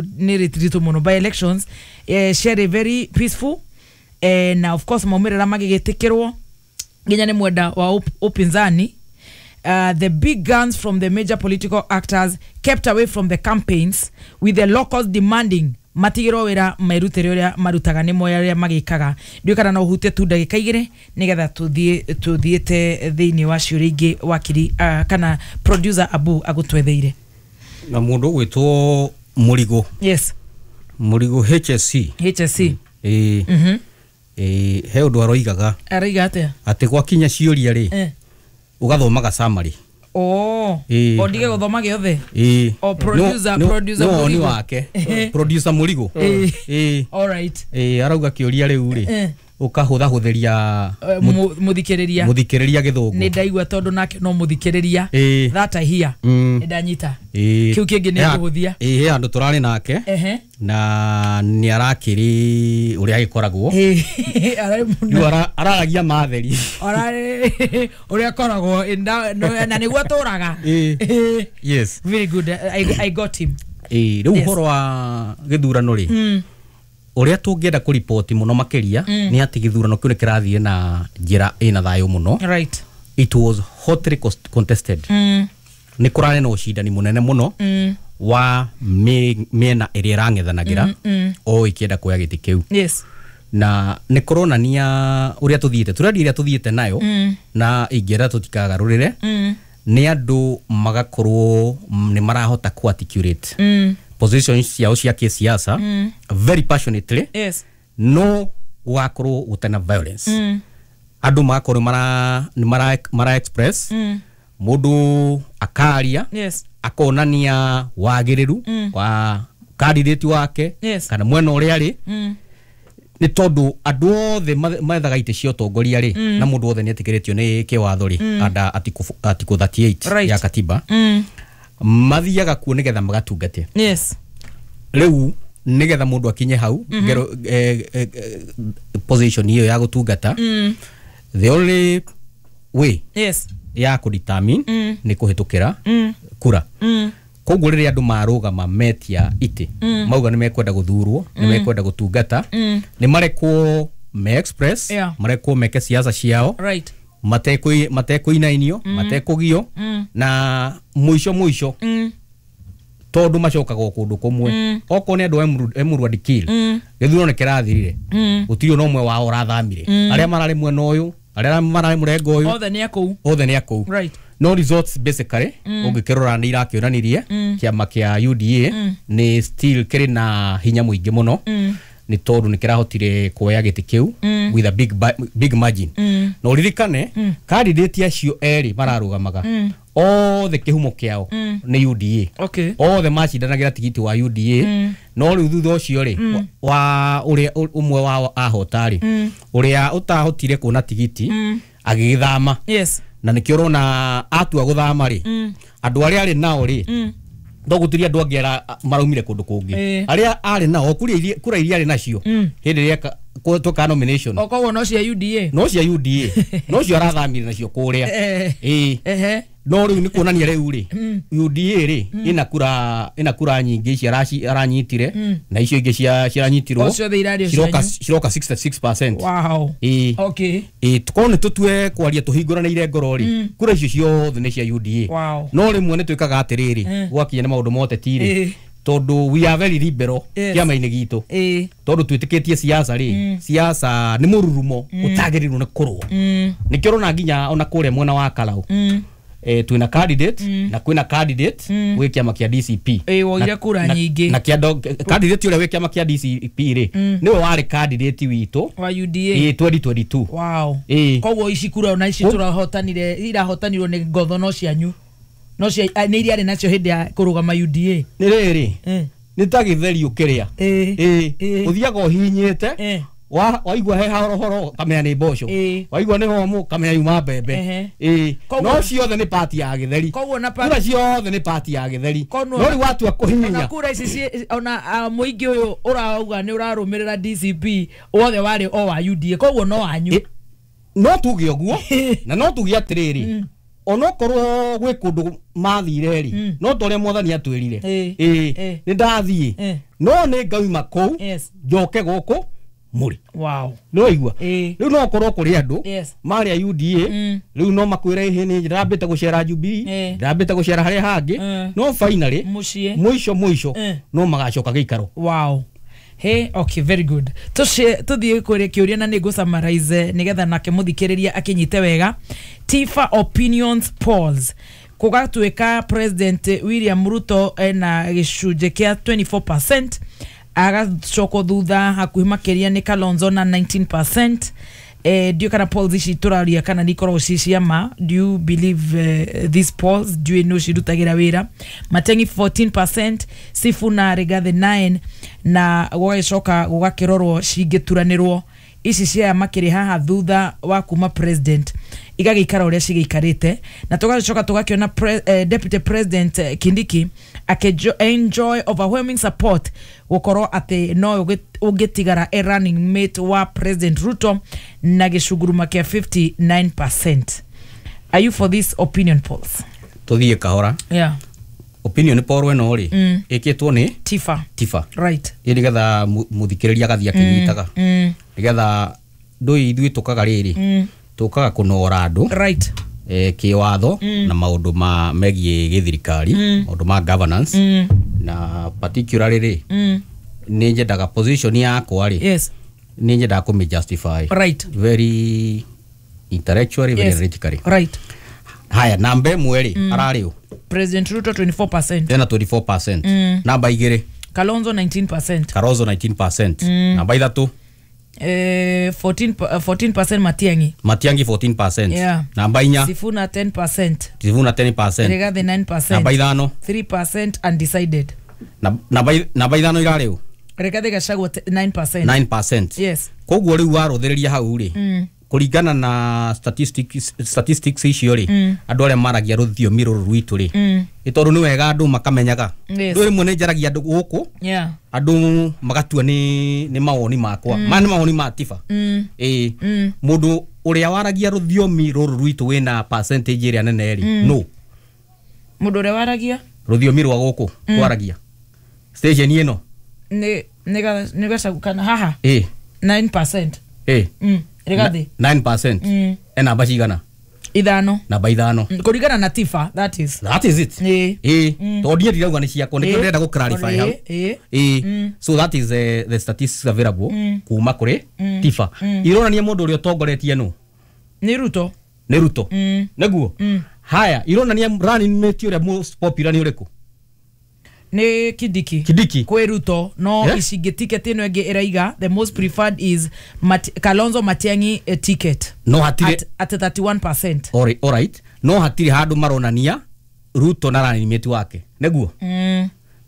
Nĩ rĩtiritũ mũno by elections ciarĩ very peaceful, na of course maumĩrĩra magĩgĩtĩkĩrwo nginya nĩ mwenda wa upinzani. The big guns from the major political actors kept away from the campaigns, with the locals demanding matigĩrwo wĩra merutĩre ũrĩa marutaga nĩ moya ũrĩa magĩkaga. Ndiũĩ kana no ũhutie tu ndagĩka 2 nĩgetha tũthiĩ tũthiĩte thĩinĩ wa ciũria ingĩ wakiri, kana producer Abu agũtwetheire. Na mũndũ ũgwĩtwo Mũrigo. Yes. Mũrigo HSC. HSC. Ĩĩ. Ĩĩ, he ũndũ aroigaga. Araiga atĩa? Atĩ gwakinya ciũria rĩ, ũgathomaga summary. Oh. Ĩĩ. O ndige gũthoma gĩothe. Ĩĩ. O producer Nĩ woni Mũrigo. wake, producer Mũrigo. Ĩĩ. All right. Ĩĩ, arauga kĩũria rĩu rĩ, ũkahũthahũthĩria Mũthikĩrĩria. Mũthikĩrĩria gĩthũngũ. Nĩ ndaigua, tondũ nake no mũthikĩrĩria. That I hear. Nĩ ndanyita. Kĩu kĩngĩ nĩ ngũhũthia. Ĩĩ, he handũ tũrarĩ nake na nĩ arakĩrĩ ũrĩa agĩkoragwo. Ararĩ mũno. Rĩu araragia matheri. Ararĩ ũrĩa akoragwo na nĩguo atũraga. Ĩĩ. Yes. Very good. I got him. Ĩĩ, rĩu ũhoro wa gĩthurano rĩ, ũrĩa tũngĩenda kũriboti mũno makĩria nĩ atĩ gĩthurano kĩu nĩ kĩrathiĩ na njĩra ĩna thayũ mũno. It was hotly contested. Nĩ kũrarĩ na ũcindani mũnene mũno wa mĩena ĩrĩa ĩrang'ethanagĩra o ĩkĩenda kuoya gĩtĩ kĩu. Na nĩ kũronania ũrĩa tũthiĩte, tũrendi ĩrĩa tũthiĩte nayo, na ingĩenda tũtikagarũrĩre nĩ andũ magakorwo nĩ marahota ku articulate positions ciao cia kĩsiasa very passionately, no gũgakorwo gũtarĩ na violence. Andũ magakorwo mara nĩ mara express, mũndũ akaria, akonania wagĩrĩru wa candidate wake kana mwena ũrĩa arĩ, nĩ tondũ andũ othe methaga itĩ cia ũtongoria rĩ, na mũndũ wothe nĩ etĩkĩrĩtio nĩ kĩwatho rĩ, under article 38 ya katiba, mathiaga kuo nĩgetha magatungate. Rĩu nĩgetha mũndũ akinye hau ngero, position iyo ya gũtungata, the only way ya kũdetermine nĩ kũhĩtũkĩra kura. Koguo rĩrĩa andũ marũgama metia itĩ, mauga nĩ mekwenda gũthurwo, nĩ mekwenda gũtungata, nĩ marekwo me express, marekwo meke siasa ciao matekũinainio, matekũgio, na mũico mũico, tondũ macokaga o kũndũ kũmwe, okorwo nĩ andũ a Emurua Dikirr, gĩthurano nĩ kĩrathirire, gũtirĩ ona ũmwe wao ũrathamire. Arĩa mararĩ mwena ũyũ, arĩa mararĩ mũrengo ũyũ, othe nĩ akũu. Othe nĩ akũu. No results basically ũngĩkĩrora nĩ irakĩonanirie kĩama kĩa UDA nĩ still kĩrĩ na hinya mũingĩ mũno, nĩ tondũ nĩ kĩrahotire kuoya gĩtĩ kĩu with a big margin. Na ũririkane candidate acio erĩ mararũgamaga othe kĩhumo kĩao nĩ UDA. Othe macindanagĩra tigiti wa UDA, no rĩu thutha ũcio rĩ, wa ũrĩa ũmwe wao ahota rĩ, ũrĩa ũtahotire kuona tigiti agĩgĩthama. Na nĩkĩo ũrona atua gũthama rĩ, andũ arĩa arĩ nao rĩ, no gũtirĩ andũ angĩ maraumire kũndũ kũngĩ. Arĩa arĩ nao kura iria arĩ nacio hĩndĩ ĩrĩa tweka nomination, o koguo no cia UDA. No cia UDA, no cio arathamire nacio kũrĩa. Ĩĩ. No rĩu nĩ kuonania rĩu rĩ, UDA rĩ ĩna kura nyingĩ ici aranyitire, na icio ingĩ ciranyitirwo O ciothe irarĩ o ciroka cianyu. Ciroka 66%. Ĩĩ. Ĩĩ, korwo nĩ tũtue kwaria tũhingũranĩire ngoro rĩ, kura icio ciothe nĩ cia UDA. No rĩmwe nĩ twĩkaga atĩrĩrĩ, gwakinya nĩ maũndũ ma ũteti rĩ, tondũ we are very liberal kĩama-inĩ gitũ, tondũ twĩtĩkĩtie siasa rĩ, siasa nĩ mũrurumo ũtagĩrĩirwo nĩ kũrũa. Nĩkĩo ũrona nginya ona kũrĩa mwena wa Karau, twĩna candidate na kwĩna candidate gwĩ kĩama kĩa DCP. Ĩĩ, woire kura nyingĩ. Na candidate ũrĩa wĩ kĩama kĩa DCP rĩ, nĩwe warĩ candidate witũ wa UDA. Ĩĩ, 2022. Ĩĩ. Koguo ici kura ona ici tũrahotanire, irahotanirwo nĩ ngotho, no cianyu, no cia nĩ iria arĩ nacio hĩndĩ ya kũrũgama UDA. Nĩ rĩrĩ, nĩ ta gĩtheri ũkĩrĩa. Ĩĩ. Ĩĩ, ũthiaga ũhihinyĩte, waigua he horohoro kamenya nĩ mboco, waigua nĩ homũ kamenya yuma mbembe. Ĩĩ. No ciothe nĩ pati ya gĩtheri. Koguo na kura ciothe nĩ pati ya gĩtheri. Koguo no rĩu watua ona kũhihinya kura ici ona mũingĩ ũyũ ũrauga nĩ ũrarũmĩrĩra DCP wothe warĩ o wa UDA, koguo no wanyu. No tuge ũguo, na no tuge atĩrĩrĩ, Onokorwo gwĩ kũndũ mathire rĩ, no ta ũrĩa mwathani atwĩrire, ĩĩ nĩ ndathiĩ, no nĩ ngauma kũu njoke gũkũ mũrĩ. Wow. Nĩ waigua? Rĩu no korwo kũrĩ andũ marĩ a UDA, rĩu no makwĩre ĩhĩ nĩ ndĩrambĩte gũcera Jubilee, ndĩrambĩte gũcera harĩa hangĩ, no finally mũico mũico no magacoka gĩikaro. Wow. Hey, okay, very good. Tuthiĩ kũrĩ kĩũria na nĩngũ summarize nĩgetha nake mũthikĩrĩria akĩnyite wega. Tifa opinions polls kũgatuĩka President William Ruto ena gĩcunjĩ kĩa 24%, agacokwo thutha hakuhĩ makĩria nĩ Kalonzo na 19%. Ndiũ kana polls ici tũraria kana nĩ ikoragwo ci cia ma. Do you believe these polls? Ndiũĩ nũ cirutagĩra wĩra. Matiang'i 14%, Sifuna Rigathi 9, na gũgagĩcoka gũgakĩrorwo cingĩturanĩrwo ici cia makĩrĩ haha thutha wa kuma president igagĩikara ũrĩa cigĩikarĩte, na tũgagĩcoka tũgakĩona deputy president Kindiki enjoy overwhelming support gũkorwo atĩ no ũngĩtigara a running mate wa President Ruto na gĩcunguruma kĩa 59%. Are you for this opinion polls? Tũthiĩ kahora. Yeah. Opinion poll ĩno rĩ ĩkĩtwo nĩ Tifa. Tifa. Right. Ĩ nĩgetha mũthikĩrĩria agathiĩ akĩnyitaga. Nĩgetha ndũĩ ithuĩ tũkaga rĩrĩ, tũkaga kũnora andũ. Right. Kĩwatho na maũndũ ma megiĩ gĩthirikari, maũndũ ma governance, na particularly rĩ nĩ nyendaga position yakwa rĩ, yes, nĩ nyendaga kũmĩ justify. Right. Very intellectually, very analytically. Right. Haya, namba ĩmwe rĩ ararĩ ũ? President Ruto 24%. Ena 24%. Namba igĩrĩ Kalonzo 19%. Kalonzo 19%. Namba ithatũ 14% Matiang'i. Matiang'i 14%. Yeah. Namba inya Sifuna 10%. Sifuna 10%. Rigathi 9%. Namba ithano 3% undecided. Namba ithano irarĩ ũ? Rigathi Gachagua 9%. 9%. Yes. Koguo rĩu warũthĩrĩria hau rĩ, kũringana na statistics icio rĩ, andũ arĩa maragia rũthiomi rũrũ rwitũ rĩ, nĩ tondũ nĩ wega andũ makamenyaga. Rĩu rĩmwe nĩ njaragia andũ gũkũ, andũ magatua nĩ mawoni makwa, ma nĩ mawoni ma Tifa. Ĩĩ, mũndũ ũrĩa waragia rũthiomi rũrũ rwitũ wĩna percentage ĩrĩa nene rĩ, no mũndũ ũrĩa waragia rũthiomi rwa gũkũ twaragia station ĩno nĩ Gachagua kana haha ĩĩ 9%. Ĩĩ. Rigathi 9%. Ena namba cigana? Ithano. Namba ithano. Kũringana na Tifa, that is. That is it. Ĩĩ. Tondũ niĩ ndirauga nĩ ciakwa, nĩkĩo ndĩrenda gũ clarify hau. Ĩĩ. So that is the statistics available kuma kũrĩ Tifa. Ironania mũndũ ũrĩa ũtongoretie nũ? Nĩ Ruto. Nĩ Ruto. Nĩguo. Haya, ironania running mate ũrĩa most popular nĩ ũrĩkũ? Nĩ Kindiki. Kindiki. Kwĩ Ruto, no ici ingĩ ticket ĩno ĩngĩ ĩraiga the most preferred is Kalonzo Matiang'i ticket. No hatirĩ at 31%. All right. No hatirĩ handũ maronania Ruto na running mate wake. Nĩguo?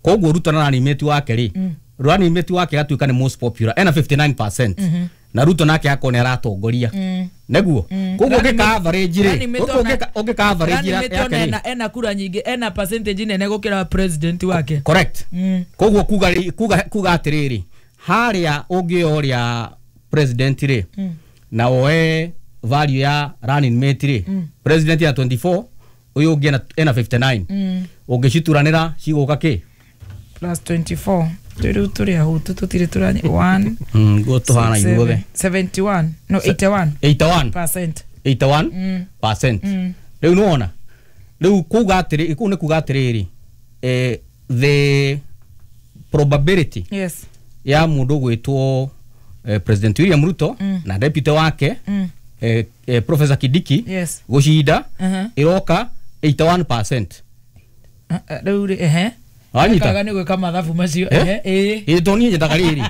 Koguo Ruto na running mate wake rĩ, running mate wake gatuĩka nĩ most popular ena 59%. Na Ruto nake akorwo nĩ aratongoria. Nĩguo? Koguo ũngĩka average rĩ, ũngĩka average yake rĩ, ena kura nyingĩ, ena percentage nene gũkĩra president wake. Correct. Koguo kuga atĩrĩrĩ, harĩa ũngĩoya ũrĩa president rĩ, na woe value ya running mate rĩ, president ya 24, ũyũ ũngĩ ena 59. Ũngĩcituranĩra cigũka kĩ? Plus 24. Rĩu tũrĩ ahũtu tũtirĩ tũranya 1 guo tũhana ithuothe 71 no 81 81%. 81%. Rĩu nĩwona, rĩu kuga atĩrĩ, kũu nĩ kuga atĩrĩrĩ, the probability, yes, ya mũndũ gwĩtwo President William Ruto na deputy wake Professor Kindiki, yes, gũcinda ĩroka 81%. Rĩu rĩ, ehe, Wanyita? Kaga nĩ gwĩka mathabu macio. Ĩĩ. Ĩĩ, tondũ niĩ nyendaga rĩrĩ.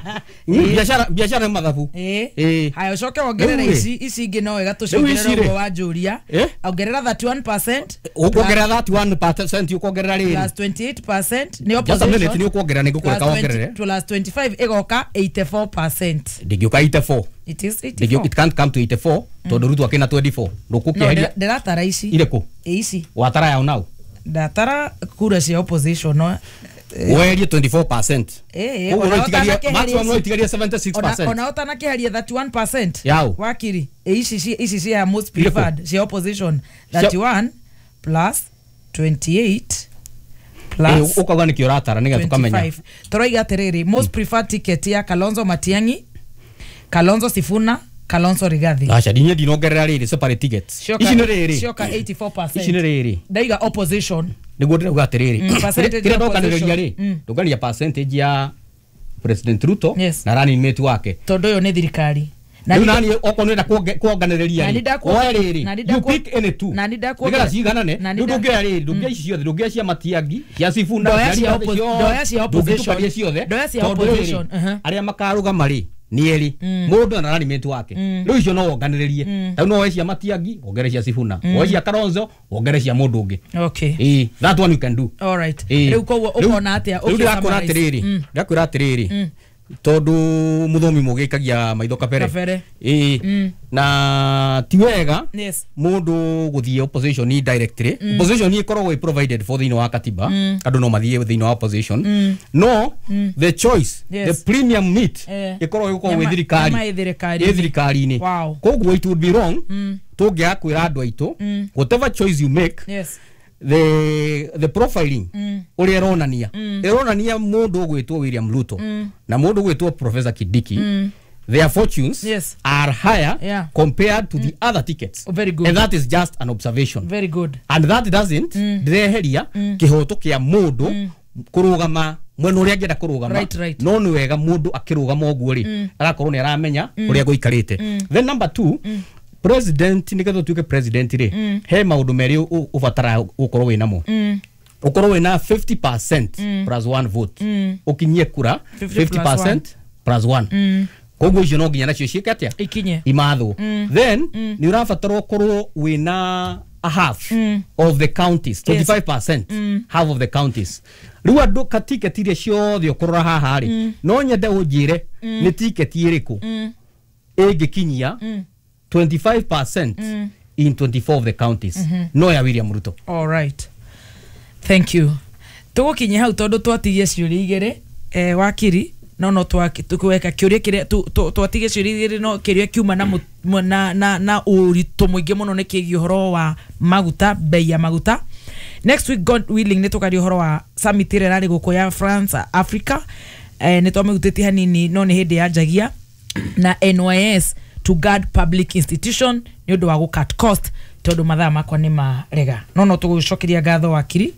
Biacara nĩ mathabu. Ĩĩ. Haya, ũcoke wongerere ici ingĩ no wega tũciongerere ũguo wanjũria. Ongerera 31%. Ũkuongerera 31% ũkuongerera rĩrĩ. Plus 28% nĩ opposition. Just a minute, nĩ ũkuongerera, nĩ ngũkũreka wongerere. Plus 25 ĩgoka 84%. Ndĩngĩũka 84. It is 84. It can't come to 84 tondũ Ruto akĩna 24. Ndũkũkĩeheria. Ndĩratara ici. Irĩkũ? Ici. Watara yaũ nau? Ndatara kura cia opposition no werie 24%. Koguo no itigarie maximum, no itigarie 76%. Ona ũtanakĩheria 31% Yau. Wakiri ici cia most preferred cia opposition 31 plus 28 plus Ukauga nĩkĩ ũratara nĩgetha tũkamenya. 25. Tũroiga atĩrĩrĩ, most preferred ticket ya Kalonzo Matiang'i, Kalonzo Sifuna, Kalonzo Rigathi. Aca, niĩ ndinongerera rĩrĩ separate tickets. Ici nĩ rĩrĩ. Cioka 84%. Ici nĩ rĩrĩ. Ndaiga opposition. Nĩguo ndĩrauga atĩrĩrĩ, Percentage kĩrĩa ya ndokanĩrĩria rĩ, opposition. ndũngania percentage ya President Ruto Yes. na running mate wake. Tondũ ũyũ nĩ thirikari. Na Rĩu nĩ- nani okorwo nĩũrenda kuonganĩrĩria Na rĩ, nĩ ndakuonge- oe rĩrĩ, na nĩ you pick any two na nĩ nĩgetha ciiganane. na nĩ Rĩu ndũngĩoya rĩrĩ, ndũngĩoya ici ciothe, ndũngĩoya cia Matiang'i, cia Sifuna, Ndoya cia cia Rigathi ciothe, ndoya cia opposition. ndũngĩtukania ciothe, Ndoya cia tondũ rĩrĩ, opposition, arĩa makarũgama rĩ nĩ erĩ, mũndũ na running mate wake. Rĩu icio no wonganĩrĩrie. Rĩu no woe cia Matiang'i wongere cia Sifuna, woe cia Kalonzo wongere cia mũndũ ũngĩ. Okay. Ĩĩ, that one you can do. All right. Ĩĩ. Rĩu koguo ũkona atĩa? Rĩu ndĩrakwĩra Ũkĩ-summarize. atĩrĩrĩ, ndĩrakwĩra atĩrĩrĩ, tondũ mũthomi mũgĩ aikagia maitho kabere. Kabere. Ĩĩ, na ti wega mũndũ gũthiĩ opposition directly. Opposition ĩkoragwo ĩ provided for thĩinĩ wa katiba, andũ no mathiĩ thĩinĩ wa opposition, no the choice, the premium meat, ĩkoragwo ĩgũkorwo ĩ thirikari. Nyama ĩ thirikari-inĩ. Ĩ thirikari-inĩ. Koguo it would be wrong tũngĩaga kwĩra andũ aitũ, whatever choice you make, the profiling ũrĩa ĩronania, ĩronania mũndũ ũgwĩtwo William Ruto na mũndũ ũgwĩtwo Professor Kindiki, their fortunes are higher compared to the other tickets. Oh, very good. And that is just an observation. Very good. And that doesn't ndireheria kĩhoto kĩa mũndũ kũrũgama mwena ũrĩa angĩenda kũrũgama. No nĩ wega mũndũ akĩrũgama ũguo rĩ, agakorwo nĩ aramenya ũrĩa gũikarĩte. Then number two, president, nĩgetha ũtuĩke president rĩ, he maũndũ merĩ ũbataraga gũkorwo wĩ namo. Ũkorwo wĩna 50% plus one vote, ũkinyie kura 50 plus 50% plus one. Koguo icio no nginya nacio ciĩke atĩa? Ikinye. Imathwo. Then nĩ ũrabatara ũkorwo wĩna a half of the counties, 25%, half of the counties. Rĩu andũ ka tiketi iria ciothe ũkũrora haha rĩ, no nyende ũnjĩre nĩ tiketi ĩrĩkũ ĩngĩkinyia 25% in 24 of the counties, no ya William Ruto. All right, thank you. Tũgũkinyia hau tondũ twatigie ciũria igĩrĩ, wakiri, no tweka kĩũria kĩrĩa twatigie ciũria igĩrĩ, no kĩrĩa kiuma na, na ũritũ mũingĩ mũno nĩ kĩgiĩ ũhoro wa maguta, bei ya maguta. Next week, God willing, nĩ tũkaria ũhoro wa summit ĩrĩa ĩrarĩ gũkũ ya France Africa, nĩ twamĩhutĩtie hanini no nĩ hĩndĩ yanjagia, na NYS to guard public institution nĩ ũndũ wa gũ cut cost, tondũ mathaa makwa nĩ marega. No tũgũcokeria ngatho, wakiri,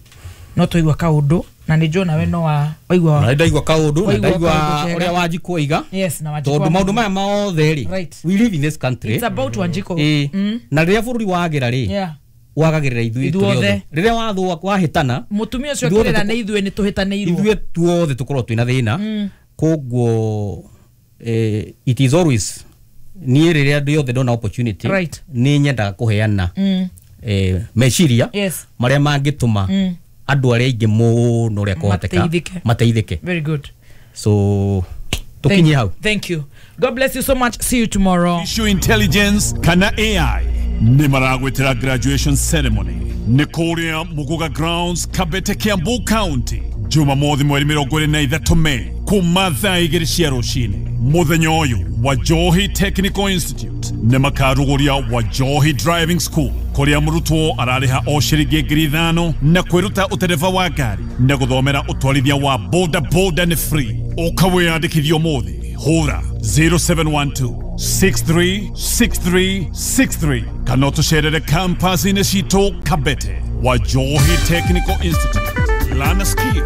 no twaigua kaũndũ na nĩ njũĩ nawe no wa waigua. Na ndaigua kaũndũ na Waigua ndaigua kaũndũ kega. ũrĩa Wanjikũ oiga. Yes, na Wanjikũ Tondũ maũndũ maya mothe rĩ, we live in this country. It's about Wanjikũ. Ĩĩ. Na rĩrĩa bũrũri wagĩra rĩ, wagagĩrĩra ithuĩ Ithuothe. tũrĩ othe. Rĩrĩa wathũa, wahĩtana, Mũtumia ũcio Ithuothe akĩrĩra nĩ ithuĩ nĩ tũhĩtanĩirwo. Ithuĩ tuothe tũkorwo twĩna thĩna. Koguo it is always niĩ rĩrĩa rĩothe ndona opportunity, nĩ nyendaga kũheana meciria marĩa mangĩtũma andũ arĩa aingĩ mũno ũrĩa kũhoteka Mateithĩke. mateithĩke. Very good. So tũkinyie hau. Thank you. God bless you so much. See you tomorrow. Artificial intelligence kana AI nĩ maragwĩtĩra graduation ceremony nĩ kũrĩa Muguga Grounds, Kabete, Kiambu County, Jumamothi mweri 23 Mei kuma thaa 2 cia rũcinĩ. Mũthenya ũyũ Wajohi Technical Institute nĩ makarugũria Wajohi Driving School, kũrĩa mũrutwo ararĩha o ciringi 5,000 na kwĩruta ũtereba wa ngari na gũthomera ũtwarithia wa boda boda nĩ free. Ũka wĩyandĩkithie ũmũthĩ, hũra 0712 636363 kana ũtũcerere campus-inĩ citũ Kabete. Wajohi Technical Institute, learn a skill.